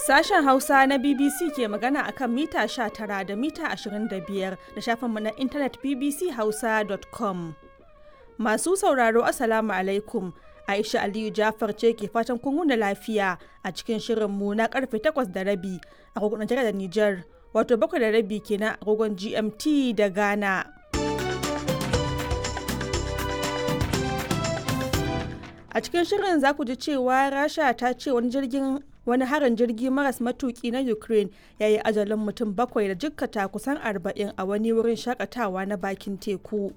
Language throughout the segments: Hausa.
Sashen Hausa na BBC ke magana akan mita 19 da mita 25 da shafinmu na intanet bbchausa.com. Masu sauraro, Assalamu alaikum. Aisha Aliyu Jafar ce ke fatan kun wuni lafiya a cikin shirinmu na karfe 8:30 agogon Najeriya da Nijar, wato 7:30 kenan agogon GMT da Ghana. A cikin shirin za ku ji cewa Rasha ta ce wani jirgin wani harin jirgi maras matuki na Ukraine ya yi ajalin mutum bakwai da jikkata kusan 40 a wani wurin shakatawa na bakin teku.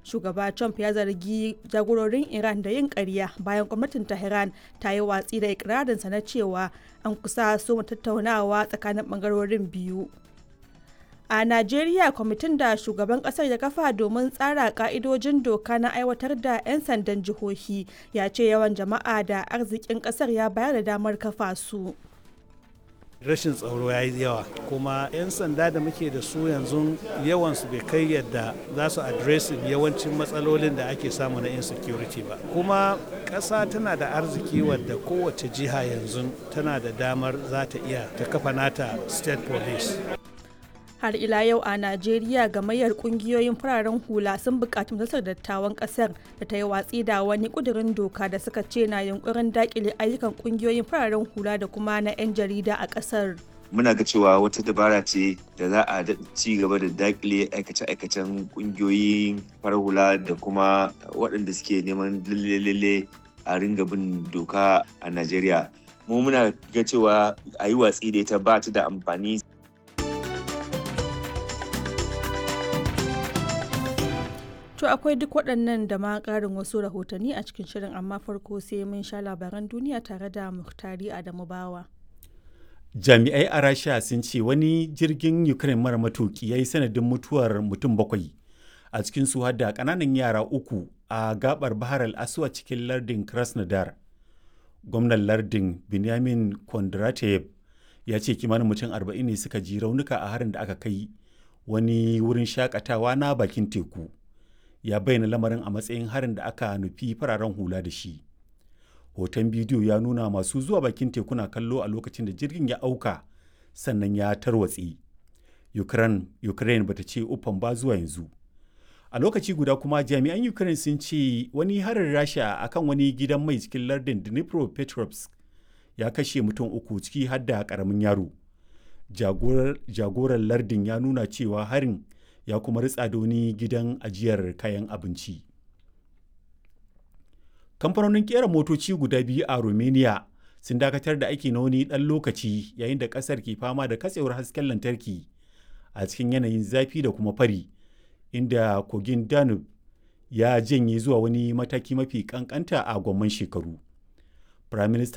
Shugaba Trump ya zargi jagororin Iran da yin ƙarya bayan gwamnatin Tehran ta yi watsi da ikirarinsa na cewa an kusa soma tattaunawa tsakanin bangarorin biyu. A Najeriya, kwamitin da shugaban kasar ya kafa domin tsara ka'idojin doka na aiwatar da 'yan sandan jihohi ya ce yawan jama'a da arzikin kasar ya bayar da damar kafa su. Rashin tsaro ya yi yawa, kuma 'yan sanda da muke da su yanzu yawansu bai kai yadda za su addressing yawancin matsalolin da ake samu na insecurity ba. Kuma ƙasa tana da arziki wadda kowace jiha yanzu tana da damar za ta iya ta kafa nata state police. Har ila yau a Najeriya, gamayyar kungiyoyin fararen hula sun buƙaci Majalisar Dattawan ƙasar da ta yi watsi da wani ƙudurin doka da suka ce na yunkurin daƙile ayyukan kungiyoyin fararen hula da kuma na 'yan jarida a ƙasar. Muna ga cewa wata dabara ce da za a ci gaba da dakile aikace-aikacen kungiyoyin farar hula da kuma waɗanda suke neman lalle a ringa bin doka a Najeriya. Mu muna ga cewa a yi watsi da ita, ba ta da amfani. To akwai duk waɗannan da ma ƙarin wasu rahotanni a cikin shirin, amma farko sai mun sha labaran duniya tare da Muhtari Adamu Bawa. Jami'ai a Rasha sun ce wani jirgin Ukraine mara matuki ya yi sanadin mutuwar mutum bakwai a cikin su da ƙananan yara uku a gabar Bahar al-Aswad cikin lardin Krasnodar. Gwamnan lardin Benjamin Kondratev ya ce kimanin mutum 40 ne suka ji raunuka a harin da aka kai wani wurin shakatawa na bakin teku. Ya bayyana lamarin a matsayin harin da aka nufi fararen hula da shi. Hoton bidiyo ya nuna masu zuwa bakin teku na kallo a lokacin da jirgin ya auka sannan ya tarwatse. Ukraine bata ce uffan ba zuwa yanzu. A lokaci guda kuma, jami'an Ukraine sun ce wani harin Rasha akan wani gidan mai cikin lardin Dnipropetrovsk ya kashe mutum uku, ciki har da karamin yaro. Jagoran lardin ya nuna cewa harin ya kuma ritsa da wani gidan ajiyar kayan abinci. Kamfanonin kera motoci guda biyu a Romania sun dakatar da aiki na wani ɗan lokaci yayin da ƙasar ke fama da katsewar hasken lantarki a cikin yanayin zafi da kuma fari, inda kogin Danube ya janye zuwa wani mataki mafi kankanta a gwamman shekaru. Prime Minister